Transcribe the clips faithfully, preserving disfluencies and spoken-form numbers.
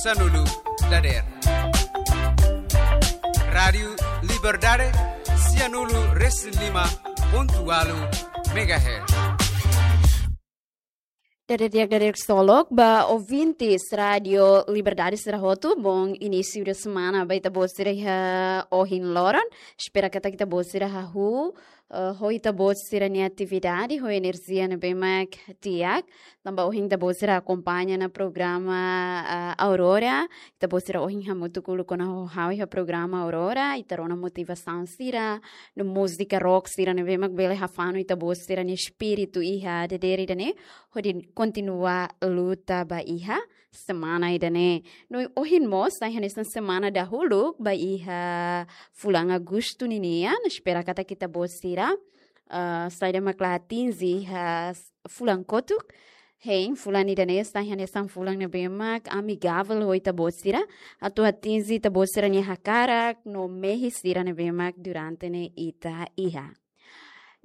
sanulu dadeer. Rádiu Liberdade, sianulu resin lima pontu ualu megahertz. Dadeer di'ak, dadeer ksolok ba ouvintes Rádiu Liberdade sira hotu, bom início de semana ba ita-boot sira iha ohin loron. Espera katak ita-boot sira hahú, eh, ho ita-boot sira-nia atividade, ho enerjia ne'ebé mak di'ak. Tanba ohin ita-boot sira akompaña ona programa, eh, Aurora. Ita-boot sira ohin hamutuk uluk ona ho ha'u iha programa Aurora, ita rona motivasaun sira, no múzika rock sira ne'ebé mak bele hafanu ita-boot sira-nia espíritu iha dadeer ida-ne'e, hodi kontinua luta ba iha semana ida-ne'e. No ohin mós, sai hanesan semana dahuluk ba iha fulan Agostu ninian, espera katak ita-boot sira, eh, saida mak la atinje iha s-, fulan kotuk. Hein, fulan ida-ne'e sai hanesan fulan ne'ebé mak amigavel ho ita-boot sira, atu atinje ita-boot sira-nia hakarak, no mehi sira ne'ebé mak durante ne'e ita iha.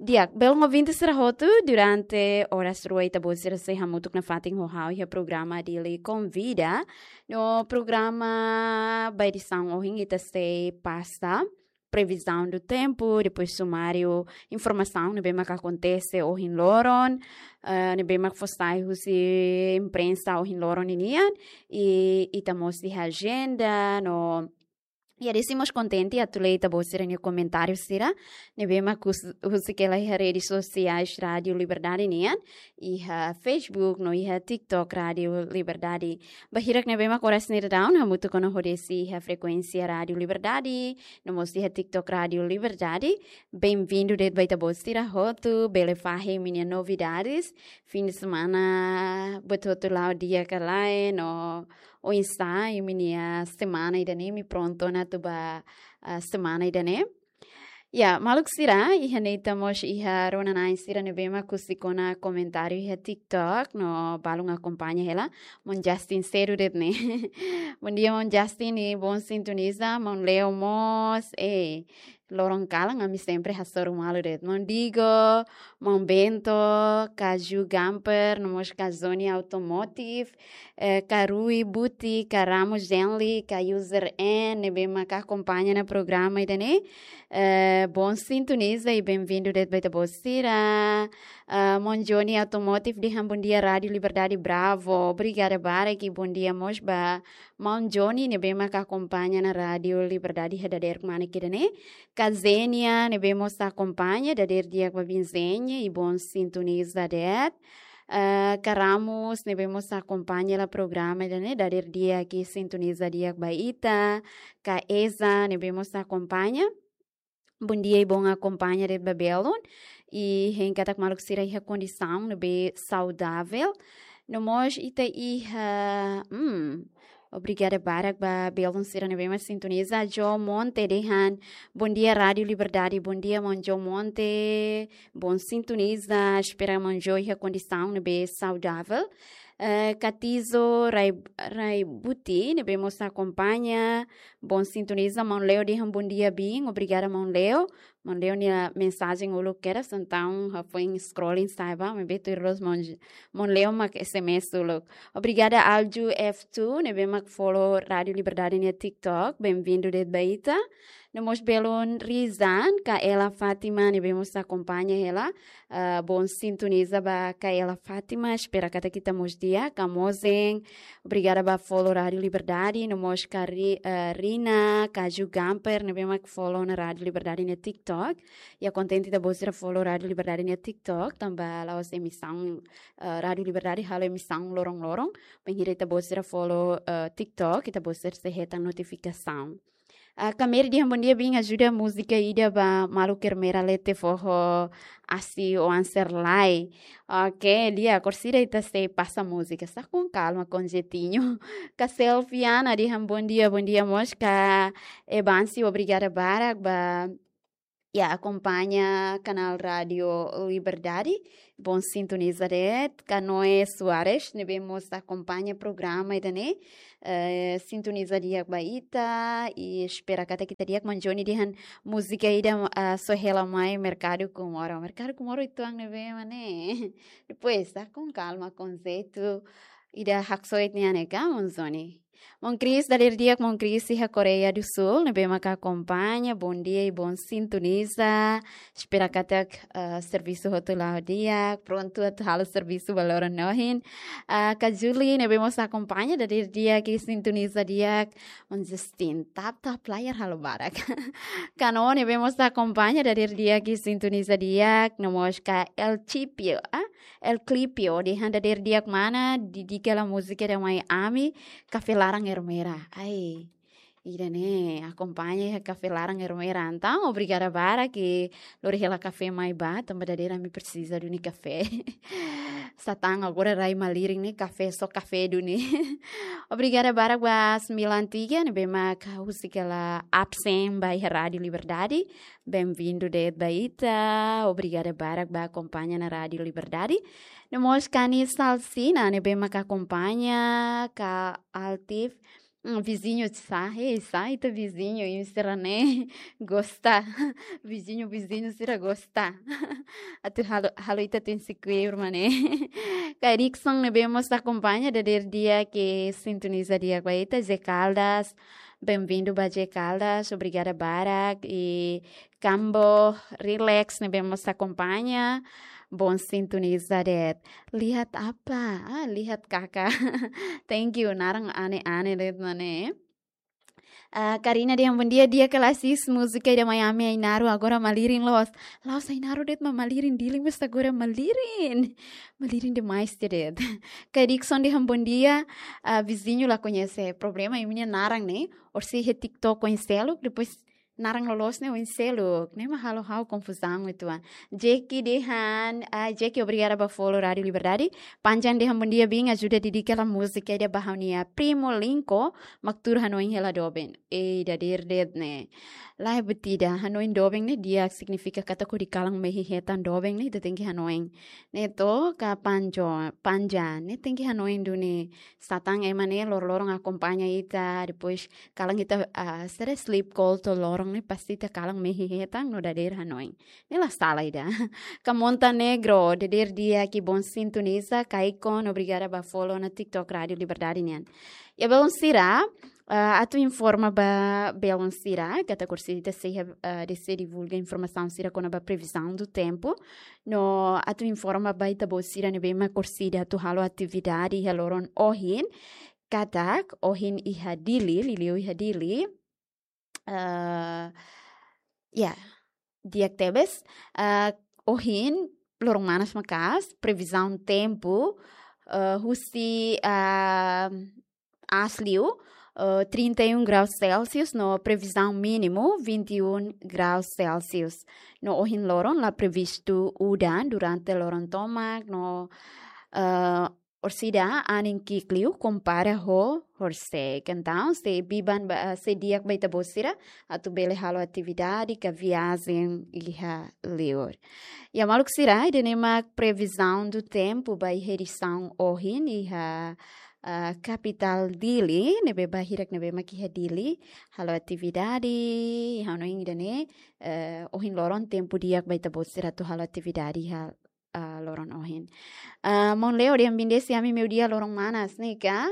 Di'ak, belun ouvinte sira hotu, durante oras rua ita-boot sira sei hamutuk nafatin ho ha'u iha programa Dili Konvida. No programa ba edisaun ohin ita sei pasa previsão do tempo, depois sumáriu informasaun ne'ebé mak akontese ohin loron, eh, ne'ebé mak fó sai husi imprensa ohin loron ninian, i ita mós iha ajenda, no, i ha'u sei mós kontente atu lee ita-boot sira-nia komentáriu sira, ne'ebé mak hus-, husik hela iha redes sosiais Rádiu Liberdade nian, iha Facebook, no iha TikTok Rádiu Liberdade. Ba hirak ne'ebé mak oras ne'e daudaun hamutuk ona ho Desi iha frekuénsia Rádiu Liberdade, no mós iha TikTok Rádiu Liberdade. Bem-vindo de'it ba ita-boot sira hotu, bele fahe imi-nia novidades. Fim de semana, buat hotu la'o di'ak ka lae, no oinsá imi-nia semana ida-ne'e, imi prontu ona atu ba, ah, semana ida-ne'e. Ya, maluk sira, iha ne'e ita mós iha rona-na'in sira ne'ebé mak husik ona komentáriu iha TikTok, no balun akompaña hela, maun Justin sedu de'it ne'e. Bom dia, maun Justin, i bom sintoniza, maun Leo mós, eh, loron kalan, ami sempre hasoru malu de'it. Maun Digo, maun Bento, Kaju Gamper, no mós Kazoni Automotive, eh, Karui Buti, Karamo Genli, ka user N, ne'ebé mak akompaña ona programa ida-ne'e. Eh, bom sintoniza i bem-vindo de'it ba ita-boot sira. Ah, maun Johnny Automotive dehan bom dia Rádiu Liberdade Bravo. Obrigada barak i bom dia mós ba maun Johnny ne'ebé mak akompaña ona Rádiu Liberdade iha dadeer kmanek ida-ne'e. Ka Zenia ne'ebé mós akompaña, dadeer di'ak ba biin Zenia i bom sintoniza de'it. Eh, Ka Ramos ne'ebé mós akompaña hela programa ida-ne'e, dadeer di'ak i sintoniza di'ak ba ita. Ka Eza ne'ebé mós akompaña. Bom dia i bom akompaña de'it ba belun. I hein katak maluk sira iha kondisaun ne'ebé saudavel. No mós ita iha, hmm, obrigada barak ba belun sira ne'ebé mak sintoniza. Jo Monte dehan, bom dia Rádiu Liberdade, bom dia maun Jo Monte, bom sintoniza, espera maun Jo iha kondisaun ne'ebé saudavel. Eh, Katizo Rai-, Raibuti, ne'ebé mós akompaña, bom sintoniza, maun Leo dehan bom dia biin, obrigada maun Leo. Maun Leo nia mensajen uluk kedas, entaun ha'u foin scrolling sa'e ba, maibé tuir loos maun, maun Leo mak S M S uluk. Obrigada Alju F two, ne'ebé mak follow Rádiu Liberdade nia TikTok, bem-vindo de'it ba ita. No mós belun Rizan, ka Ela Fátima, ne'ebé mós akompaña hela, ah, bom sintoniza ba ka Ela Fátima, espera katak ita mós di'ak, ka Mozen, obrigada ba follow Rádiu Liberdade, no mós ka Ri-, eh, Rina, Kaju Gamper, ne'ebé mak follow ona Rádiu Liberdade nia TikTok. I ha'u kontente ita-boot sira follow Rádiu Liberdade nia TikTok, tanba la'ós emisaun, eh, Rádiu Liberdade halo emisaun loron-loron, bainhira ita-boot sira follow, eh, TikTok, ita-boot sira sei hetan notifikasaun. Ah, Kameri dehan bom dia biin, ajuda múzika ida ba maluk Ermera Lete Foho Asi Oan Serlai. Ok, di'ak, orsida ita sei pasa múzika. Está com calma, com jeitinho. Ka Selfiana dehan bom dia, bom dia mós ka Ebansi, obrigada barak ba, ya, akompaña kanál Rádiu Liberdade. Bom sintoniza de'it, ka Noé Soares, ne'ebé mós akompaña programa ida-ne'e, eh, sintoniza di'ak ba ita, i espera katak ita di'ak. Maun Johnny dehan múzika ida, ah, só hela mai Merkadu Comoro. Merkadu Comoro uitoan ne'ebé mak ne'e? Depois, está com calma, com jeito, ida Haksoit nian ne'e ka, maun Johnny? Mon Chris, dadeer di'ak, Mon Chris iha Koreia do Sul, ne'ebé maka akompaña, bondia i bon sintoniza. Espera katak, eh, servisu hotu la'o di'ak, prontu atu halo servisu ba loron ohin. Ah, Kak Julie, ne'ebé mós akompaña, dadeer di'ak i sintoniza di'ak. Maun Justin, tap tap layar halo barak. Kano, ne'ebé mós akompaña, dadeer di'ak i sintoniza di'ak. No mós Kak El Chipio, ah? El Clipio, dehan dadeer di'ak mana, dedika hela múzika ida mai ami, Kafé Laran Ermera. Ai, ida-ne'e, akompaña iha Kafé Laran Ermera. Entaun, obrigada barak, lori hela kafé mai ba, tanba dadeer ami presiza duni kafé. Satán agora rai malirin ne'e kafé, só kafé duni. Obrigada barak ba Milan Tiga, ne'ebé mak husik hela absen ba iha Rádio Liberdade. Benvindu de'it ba ita. Obrigada barak ba akompaña ona Rádio Liberdade. No mós Kani Salsina, ne'ebé mak akompaña, Kak Altif. Hmm, viziñu sá, hei, sá ita viziñu, imi sira-ne'e gosta. Viziñu, viziñu sira gosta. Atu halo, halo ita tenke kuir, maun. Kak Erickson, ne'ebé mós akompaña, dadeer di'ak i sintoniza di'ak ba ita, José Caldas. Benvindu ba José Caldas, obrigada barak. I Kambo Relax, ne'ebé mós akompaña, bon sintoniza de'it. Lihat apa? Ah, lihat kakak. Thank you, naran ane-ane de'it, maun. Ah, Karina dehan bondia, di'ak ka lae sis, múzika ida mai ami Ainaro agora malirin loos. La'ós Ainaro de'it mak malirin, Dili mós agora malirin. Malirin demais de'it. Kak Erickson dehan bondia, ah, viziñu la koñese. Problema imi-nia naran ne'e, orsida iha TikTok oin seluk, depois naran loloos ne'e oin seluk. Ne'e mak halo ha'u konfuzaun uitoan. Jackie dehan, ah, Jackie, obrigada ba follow Rádio Liberdade. Panjan dehan bondia, biin, ajuda dedika hela múzika ida ba ha'u-nia primo Linko, mak tuur hanoin hela doben. Ei, dadeer de'it ne'e. Lae, buat ida, hanoin doben ne'e di'ak, signifika katak hodi kalan mehi hetan doben ne'e, ita tenke hanoin. Ne'e to, Kak Panjo, Panjan, ne'e tenke hanoin duni. Satán ema ne'e lor-loron akompaña ita, depois kalan ita, ah, sira sleep call to'o loron ne'e pasti ita kalan mehi hetan no dadeer hanoin. Ne'e la sala ida. Kak Montenegro, dadeer di'ak i bon sintoniza, Kaikon, obrigada ba follow ona TikTok Rádio Liberdade nian. Iha belun sira, ah, atu informa ba belun sira, katak orsida ita sei, ah, ita sei divulga informasaun sira kona-ba previzaun do tempu. No atu informa ba ita-boot sira ne'ebé mak orsida atu halo atividade iha loron ohin. Katak, ohin iha Dili, liuliu iha Dili. Ah, ya, di'ak tebes. Ah, ohin, loron manas maka'as, previzaun tempu, ah, husi, ah, aas liu, ah, trinta e um graus Celsius, no previzaun mínimu, vinte e um graus Celsius. No ohin loron, la previstu udan durante loron tomak, no, ah, orsida anin ki'ik liu kompara ho horisehik. Entaun, sei biban ba, sei di'ak ba ita-boot sira, atu bele halo atividade ka viajen iha liur. Ya maluk sira, ida-ne'e mak previzaun do tempu ba iha edisaun ohin iha, ah, kapitál Dili, ne'ebé ba hirak ne'ebé mak iha Dili, halo atividade, hanoin ida-ne'e, eh, ohin loron tempu di'ak ba ita-boot sira atu halo atividade iha ah, loron ohin. Ah, maun Leo dehan bindesi ami meiudia loron manas, ne'e ka?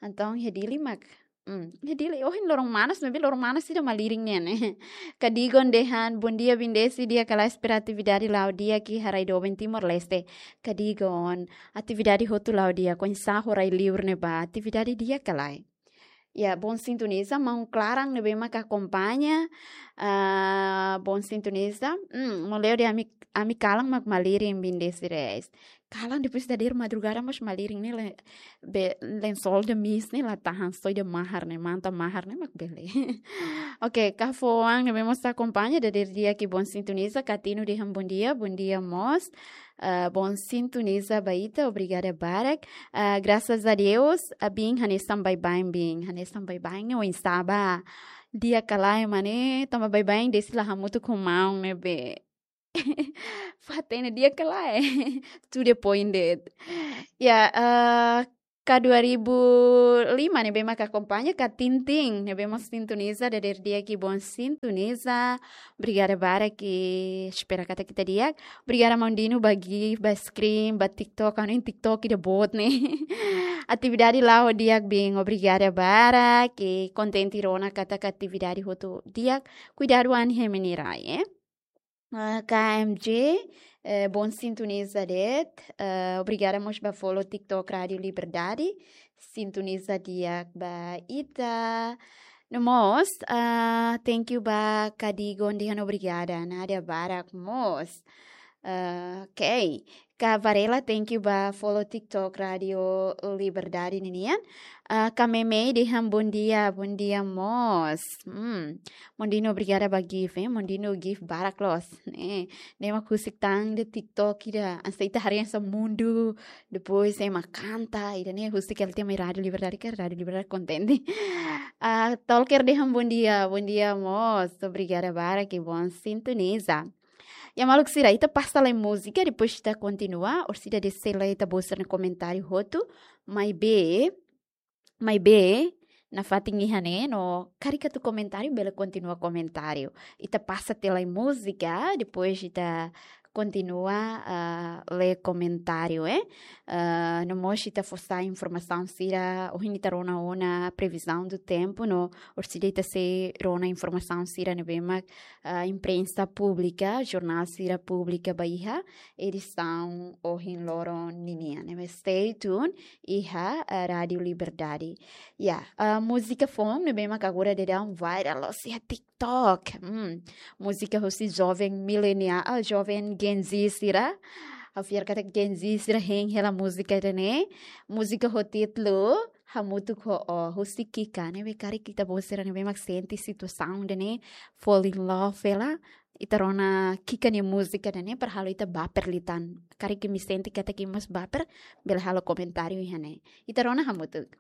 Entaun iha Dili mak. Hmm, iha Dili ohin loron manas, maibé loron manas ida malirin nian ne'e. Kak Digon dehan, bondia bindesi, di'ak ka lae, espera atividade la'o di'ak iha rai doben Timor-Leste. Kak Digon, atividade hotu la'o di'ak, oinsá ho rai liur ne'ebá, atividade di'ak ka lae? Ya, bon sintoniza, maun Klaran ne'ebé mak akompaña, ah, bon sintoniza. Hmm, maun Leo dehan ami, ami kalan mak malirin, bindesi reais. Kalan depois dadeer madrugada mós malirin ne'e le-, be, lensol de mis ne'e la tahan, só ida mahar ne'e, manta mahar ne'e mak bele. Oke, Kak Foang ne'ebé mós akompaña, dadeer di'ak i bon sintoniza, Kak Tino dehan bondia, bondia mós. Ah, bon sintoniza ba ita, obrigada barak. Ah, graças a Deus, ah, biin, hanesan baibain, biin, hanesan baibain ne'e oinsá ba? Di'ak ka lae, maun, tanba baibain desi la hamutuk ho maun ne'ebé. Fatin ne'e di'ak ka lae. To the point de'it. Ya, ah, K dua ribu lima ne'ebé mak akompaña, K Tintin ne'ebé mak sintoniza, dadeer di'ak, Bon sintoniza. Obrigada barak, espera katak ita di'ak. Obrigada maun Dino ba gift, ba screen, ba TikTok, anu in TikTok ida boot ne'e. Atividade la'o di'ak, bin, obrigada barak, kontente rona katak atividade hotu di'ak. Kuidadu an hemeni rai, eh. Ah, K M J, eh, Bon sintoniza de'it. Eh, obrigada mós ba follow TikTok Rádio Liberdade. Sintoniza di'ak ba ita. No mós, ah, thank you ba Kadigon dehan obrigada. Nada barak mós. Ah, ok. Ka Varela, thank you ba follow TikTok Rádio Liberdade ninian. Ah, Ka Memei dehan bom dia, bom dia mós. Hmm. Maun Dino, obrigada ba gift, eh. Maun Dino gift barak loos, ne'e. Ne'e mak husik tan iha TikTok ida, hanesan ita haree hanesan mundu, depois ema kanta, ida-ne'e husik hela tiha mai Rádio Liberdade, ka Rádio Liberdade kontente. Ah, Tolker dehan bom dia, bom dia mós. Obrigada barak, Bon sintoniza. Ya maluk sira, ita pasa lai múzika, depois ita kontinua, orsida de'it sei lee ita-boot sira-nia komentáriu hotu, maibé, maibé, nafatin iha ne'e, no karik atu komentáriu, bele kontinua komentáriu. Ita pasa tiha lai múzika, depois ita kontinua, ah, lee komentáriu, eh. Ah, no mós ita fó sai informasaun sira, ohin ita rona ona previsão do tempo, no orsida ita sei rona informasaun sira ne'ebé mak, ah, imprensa públika, jornál sira publika ba iha edisaun ohin loron ninian. Ne'ebé stay tuned iha, ah, Rádio Liberdade. Ya, ah, múzika foun ne'ebé mak agora daudaun viral loos iha TikTok. Hmm, múzika husi joven mileniál, ah, joven Gen Z sira. Ha'u fiar katak Gen Z sira hein hela múzika ida-ne'e. Múzika ho títulu Hamutuk ho Ó, husi Kika, ne'ebé karik ita-boot sira ne'ebé mak sente situasaun ida-ne'e, fall in love hela, ita rona Kika nia múzika ida-ne'e, para halo ita baper liután. Karik imi sente katak imi mós baper, bele halo komentáriu iha ne'e. Ita rona hamutuk.